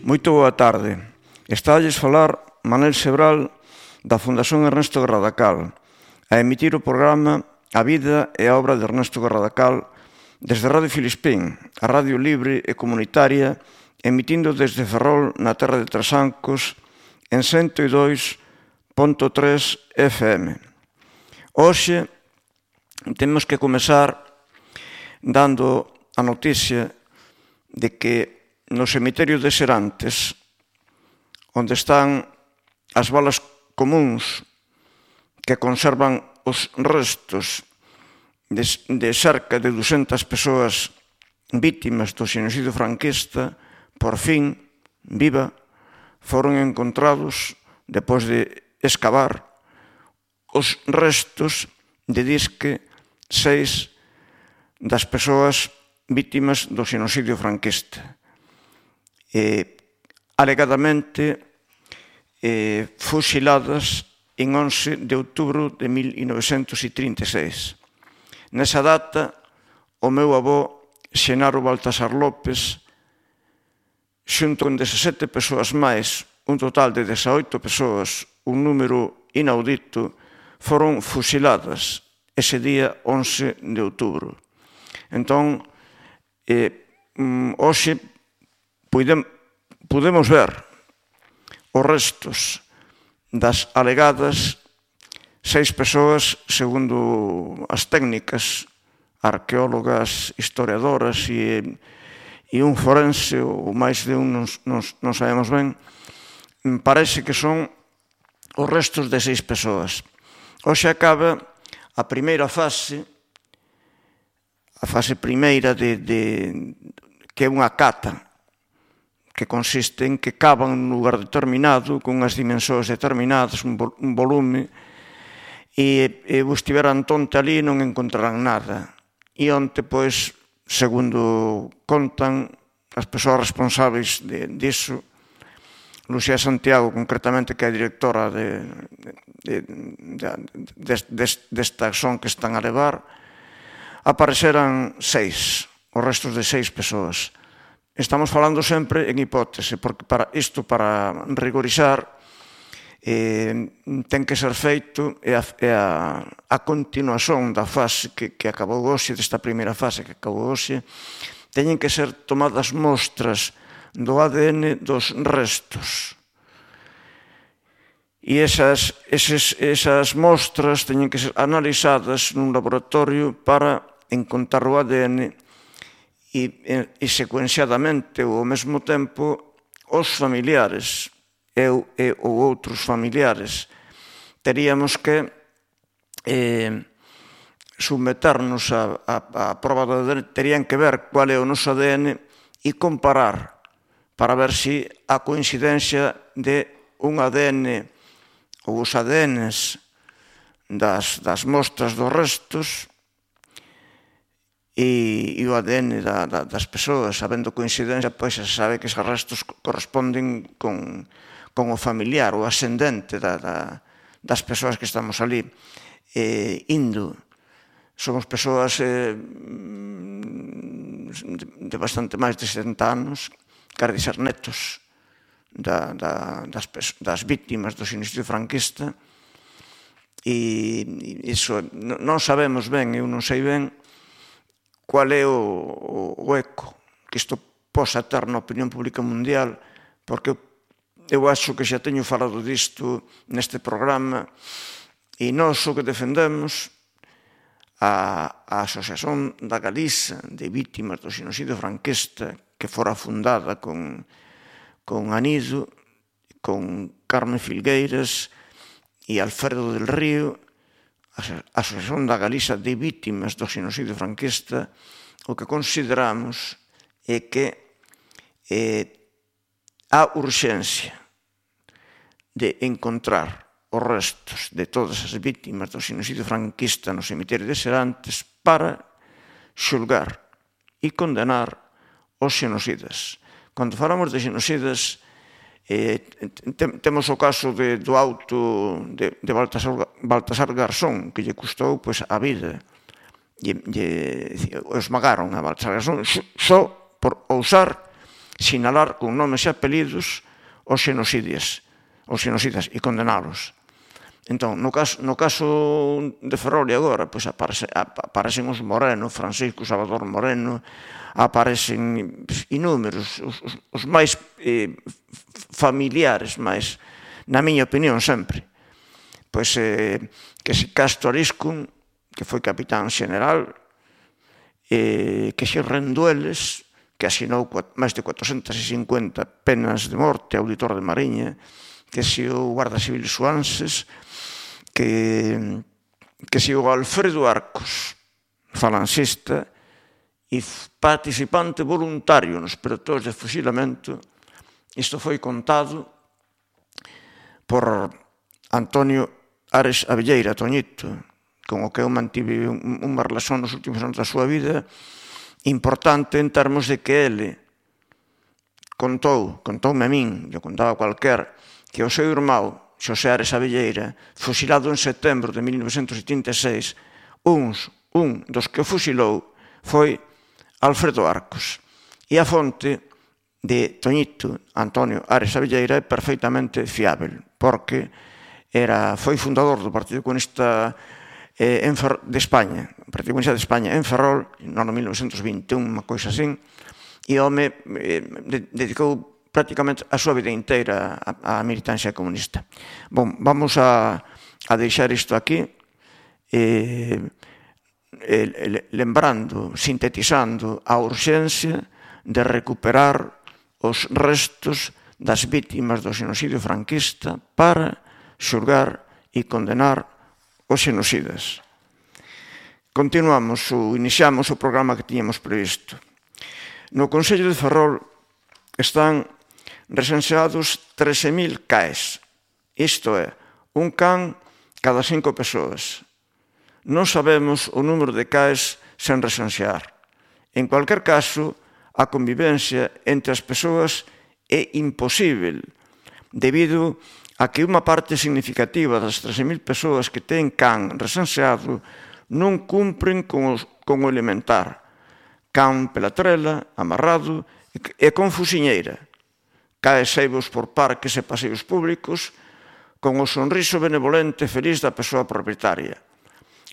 Moito boa tarde. Estálles falar Manel Sebral da Fundación Ernesto Garradacal a emitir o programa A vida e a obra de Ernesto Garradacal desde Radio Filispín, a radio libre e comunitaria, emitindo desde Ferrol na terra de Trasancos en 102.3 FM. Hoxe temos que comezar dando a noticia de que no cemiterio de Serantes, onde están as balas comuns que conservan os restos de cerca de 200 persoas vítimas do xenocidio franquista, por fin, viva, foron encontrados, depois de excavar, os restos de disque 6 das persoas vítimas do xenocidio franquista. Alegadamente fusiladas en 11 de outubro de 1936. Nesa data, o meu avó, Xenaro Baltasar López, xunto con 17 persoas máis, un total de 18 persoas, un número inaudito, foron fusiladas ese día 11 de outubro. Entón, hoxe podemos ver os restos das alegadas 6 persoas, segundo as técnicas arqueólogas, historiadoras e un forense, ou máis de un, non sabemos ben, parece que son os restos de 6 persoas. Hoxe acaba a primeira fase, a fase primeira que é unha cata, que consiste en que cavan nun lugar determinado, con unhas dimensóns determinadas, un volume, e vos tiveran tonte ali non encontrarán nada. E onte, pois, segundo contan as persoas responsáveis disso, Lucía Santiago, concretamente, que é a directora desta acción que están a levar, apareceran 6, os restos de 6 persoas. Estamos falando sempre en hipótese, porque para rigorizar ten que ser feito e a continuación da fase que acabou hoxe, desta primeira fase que acabou hoxe, teñen que ser tomadas mostras do ADN dos restos. E esas mostras teñen que ser analizadas nun laboratorio para encontrar o ADN e secuenciadamente ou ao mesmo tempo os familiares ou outros familiares teríamos que submeternos a prova do ADN, terían que ver cual é o noso ADN e comparar para ver se a coincidencia de un ADN ou os ADNs das mostras dos restos e o ADN das persoas, sabendo coincidencia, pois se sabe que esos restos corresponden con o familiar, o ascendente das persoas que estamos ali indo. Somos persoas de bastante máis de 70 anos, quer dizer, netos das vítimas do xenocidio franquista, e iso non sabemos ben, eu non sei ben cual é o eco que isto posa ter na opinión pública mundial, porque eu acho que xa teño falado disto neste programa, e nós o que defendemos, a Asociación da Galiza de Vítimas do Xenocidio Franquista, que fora fundada con Anido, con Carmen Filgueiras e Alfredo del Río, a Asociación da Galiza de Vítimas do Xenocidio Franquista, o que consideramos é que a urxencia de encontrar os restos de todas as vítimas do xenocidio franquista no cemiterio de Serantes para xulgar e condenar os xenocidas. Cando falamos de xenocidas, temos o caso do auto de Baltasar Garzón, que lle custou a vida. Esmagaron a Baltasar Garzón só por ousar sinalar con nomes e apelidos os xenocidas e condenalos. Entón, no caso de Ferrol agora, pois aparecen os Moreno, Francisco Salvador Moreno, aparecen inúmeros, os máis familiares, máis, na miña opinión, sempre. Pois que se Castro Ariscun, que foi capitán xeneral, que se Rendueles, que asinou máis de 450 penas de morte, auditor de Mariña, que se o Guarda Civil Suanses, que se o Alfredo Arcos, falancista e participante voluntario nos pelotões de fusilamento. Isto foi contado por Antonio Ares Abelleira, Toñito, con o que eu mantive unha relación nos últimos anos da súa vida importante en termos de que ele contoume a min, eu contaba a cualquier, que o seu irmão Xosé Ares Abelleira, fusilado en setembro de 1976, un dos que o fusilou foi Alfredo Arcos. E a fonte de Toñito, Antonio Ares Abelleira, é perfeitamente fiável, porque foi fundador do Partido Comunista de España, o Partido Comunista de España en Ferrol, no ano 1921, unha coisa así, e o home dedicou prácticamente a súa vida inteira á militancia comunista. Bom, vamos a deixar isto aquí, lembrando, sintetizando a urxencia de recuperar os restos das vítimas do xenocidio franquista para xulgar e condenar os xenocidas. Iniciamos o programa que tiñamos previsto. No Concello de Ferrol están recenseados 13.000 CAEs. Isto é, un can cada 5 persoas. Non sabemos o número de CAEs sen recensear. En cualquier caso, a convivencia entre as persoas é imposible, debido a que unha parte significativa das 13.000 persoas que ten can recenseado non cumpren con o elementar. Can pela trela, amarrado e con fusiñeira. Cae seivos por parques e paseos públicos con o sonriso benevolente e feliz da persoa propietaria.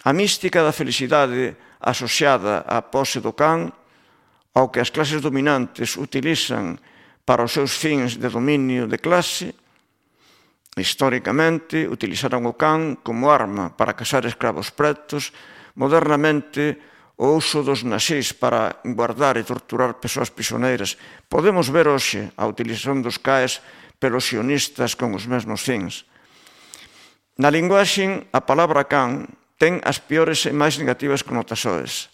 A mística da felicidade asociada á pose do can, ao que as clases dominantes utilizan para os seus fins de dominio de clase, históricamente utilizaron o can como arma para cazar escravos pretos, modernamente o uso dos nazis para guardar e torturar persoas prisioneiras. Podemos ver hoxe a utilización dos CAEs pelos sionistas con os mesmos fins. Na linguaxe, a palabra can ten as piores e máis negativas connotacións.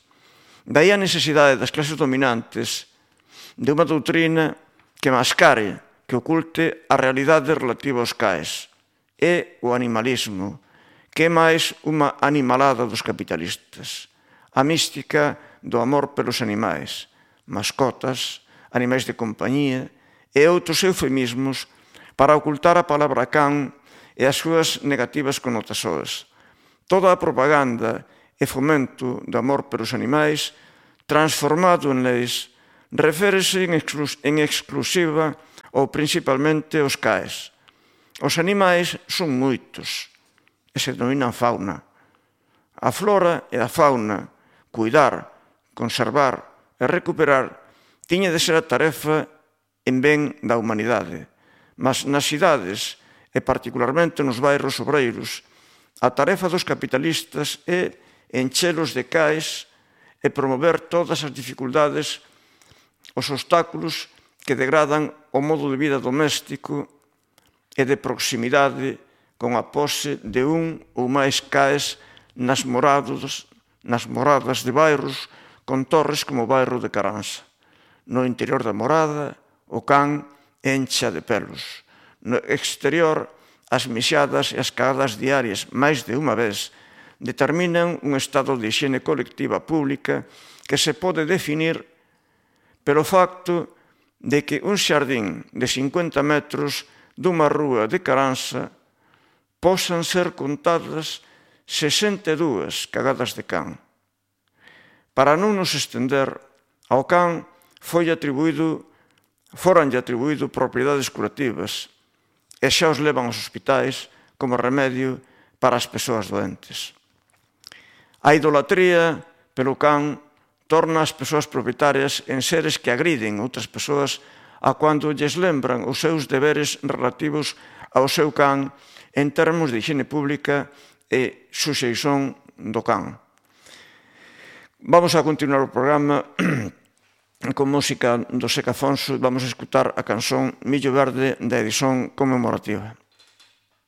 Daí a necesidade das clases dominantes de unha doutrina que mascare, que oculte a realidade relativa aos CAEs. É o animalismo, que é máis unha animalada dos capitalistas. A mística do amor pelos animais, mascotas, animais de compañía e outros eufemismos para ocultar a palabra can e as súas negativas connotacións. Toda a propaganda e fomento do amor pelos animais, transformado en leis, reférese en exclusiva ou principalmente aos CAEs. Os animais son moitos e se denominan fauna. A flora e a fauna, cuidar, conservar e recuperar tiña de ser a tarefa en ben da humanidade. Mas nas cidades, e particularmente nos bairros obreiros, a tarefa dos capitalistas é enchelos de CAEs e promover todas as dificultades, os obstáculos que degradan o modo de vida doméstico e de proximidade con a pose de un ou máis CAEs nas moradas de bairros con torres como o bairro de Caranza. No interior da morada, o can encha de pelos. No exterior, as mixadas e as cagadas diarias máis de unha vez determinan un estado de higiene colectiva pública que se pode definir pelo facto de que un xardín de 50 metros dunha rúa de Caranza posan ser contadas 62 cagadas de can. Para non nos estender, ao can foi atribuído foranlle atribuído propiedades curativas e xa os levan aos hospitais como remedio para as persoas doentes. A idolatría pelo can torna as persoas propietarias en seres que agriden outras persoas a cando lles lembran os seus deberes relativos ao seu can en termos de higiene pública e suxeición do can. Vamos a continuar o programa con música do Seca Afonso e vamos a escutar a canción Millo Verde da edición conmemorativa.